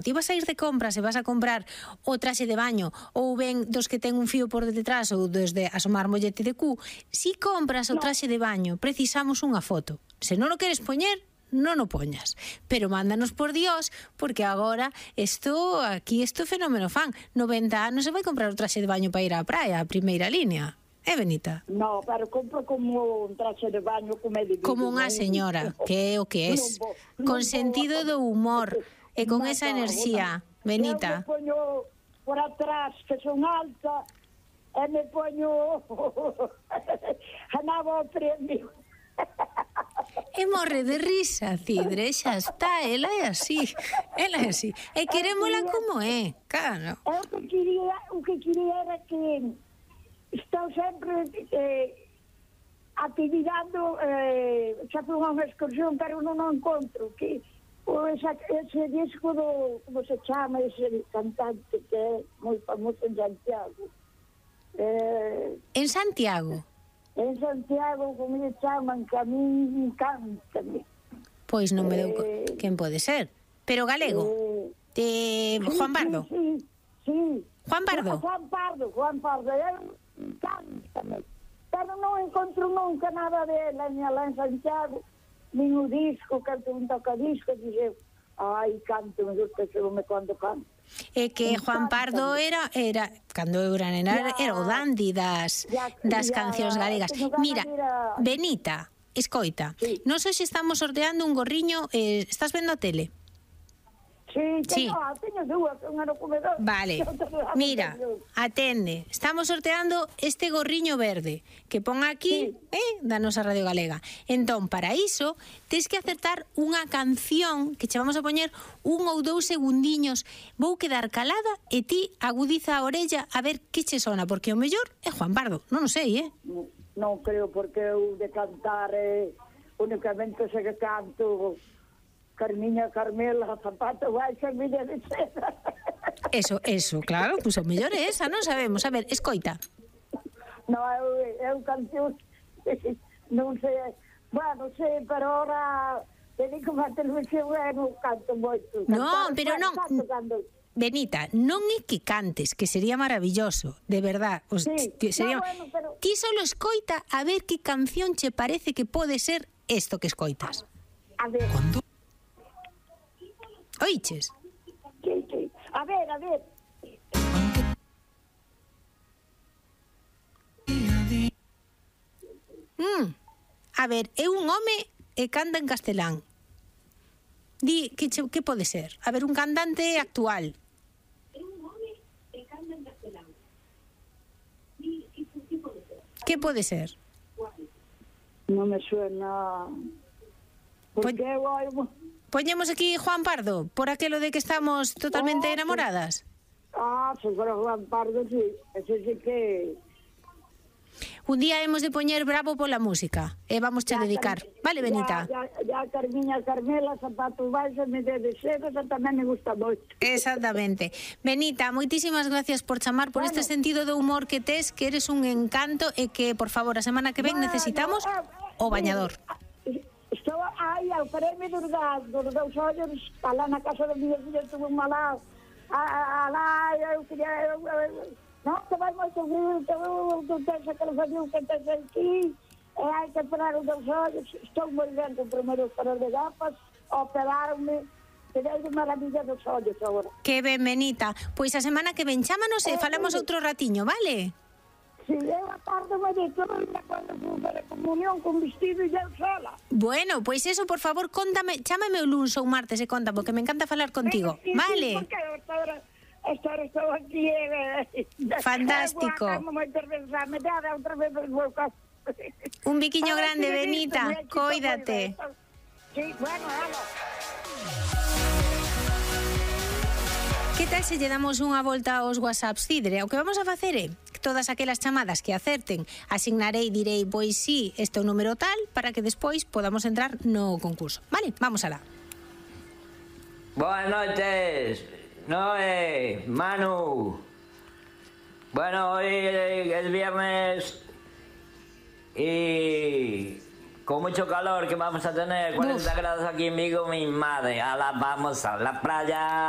Ti vas a ir de compras e vas a comprar o traxe de baño ou ben dos que ten un fío por detrás ou desde asomar mollete de cu, si compras o traxe de baño precisamos unha foto. Se non o queres poñer, non o poñas. Pero mándanos por Dios, porque agora isto fenómeno fan. 90 anos se vai comprar o traxe de baño para ir á praia, a primeira línea. Benita? No, pero compro como un traxe de baño como unha señora, que é o que es. Con sentido do humor. E con esa enerxía, Benita. Eu me poño por atrás, que son alta, e me poño a nabo ao premio. E morre de risa, Cidre, xa está, ela é así. E querémola como é, claro. O que quería era que estou sempre activando, xa fui unha excursión, pero non o encontro, que ese disco do, como se chama, ese cantante que é moi famoso en Santiago. En Santiago? En Santiago, como se chaman, que a mí encántame. Pois non me deu... Quen pode ser? Pero galego? Juan Pardo? Sí. Juan Pardo? Juan Pardo, encántame. Pero non encontro nunca nada dela, ni alá en Santiago, nin o disco, canto un tocadisco, dixe, ai, canto, me gusta me cando canto. É que Juan Pardo era cando eu era nena, era o dandy das cancións galegas. Mira, Benita, escoita, nós hoxe estamos sorteando un gorriño, estás vendo a tele? Sí, teño dúas, unha no comedor. Vale, mira, atende, estamos sorteando este gorriño verde que pon aquí, da nosa Radio Galega. Entón, para iso, tens que acertar unha canción que che vamos a poñer 1 ou 2 segundiños. Vou quedar calada e ti agudiza a orella a ver que che sona, porque o mellor é Juan Pardo, non o sei, Non creo, porque eu de cantar únicamente se que canto Carmiña, Carmela, zapato, vai, Carmiña de seda. Eso, claro, pois o mellor é esa, non sabemos. A ver, escoita. No, eu canción, non sei, bueno, sei, pero ahora dedico a televisión e non canto moito. Non, pero non, Benita, non é que cantes, que sería maravilloso, de verdad. Sería... Ti solo escoita a ver que canción che parece que pode ser isto que escoitas. A ver. Oiches? Sí. A ver. A ver, é un home e canta en castelán. Di, que pode ser? A ver, un cantante actual. É un home e canta en castelán. Di, que pode ser? Que pode ser? Non me suena... Porque eu... Poñemos aquí Juan Pardo, por aquelo de que estamos totalmente enamoradas. Seguro Juan Pardo, sí. Ese sí que... Un día hemos de poñer bravo pola música e vamos a dedicar. Vale, Benita? Ya Carmiña, Carmela, zapatos baixos, me de seda, tamén me gusta moito. Exactamente. Benita, moitísimas gracias por chamar, por este sentido de humor que tes, que eres un encanto e que, por favor, a semana que ven necesitamos o bañador. Estou aí ao premio dos dous ollos, alá na casa do meu filho, tuve un malado, alá, eu queria, non, te vai moito frio, tu tens aquele frio que tens aquí, e hai que operar os dous ollos, estou moi ben com o primeiro operar de gafas, operaron-me, que dei de maravilla dos ollos agora. Que ben, Benita, pois a semana que ven, chámanos e falamos outro ratiño, vale? Si eu a tarde me dito, cando fui para a comunión con vestido e eu sola. Bueno, pois eso, por favor, contame, chámame o luns ou martes e conta, porque me encanta falar contigo, vale? Porque esta hora estou aquí. Fantástico. Un biquiño grande, Benita, cóidate. Sí, bueno, vamos. Que tal se lle damos unha volta aos WhatsApps, Cidre? O que vamos a facer é todas aquelas chamadas que acerten, asignarei, direi, pois sí, este é o número tal, para que despois podamos entrar no concurso. Vale, vamos alá. Buenas noches, Noé, Manu. Bueno, hoy es viernes y con mucho calor que vamos a tener, 40 grados aquí en Vigo, mi madre. Ahora vamos a la playa.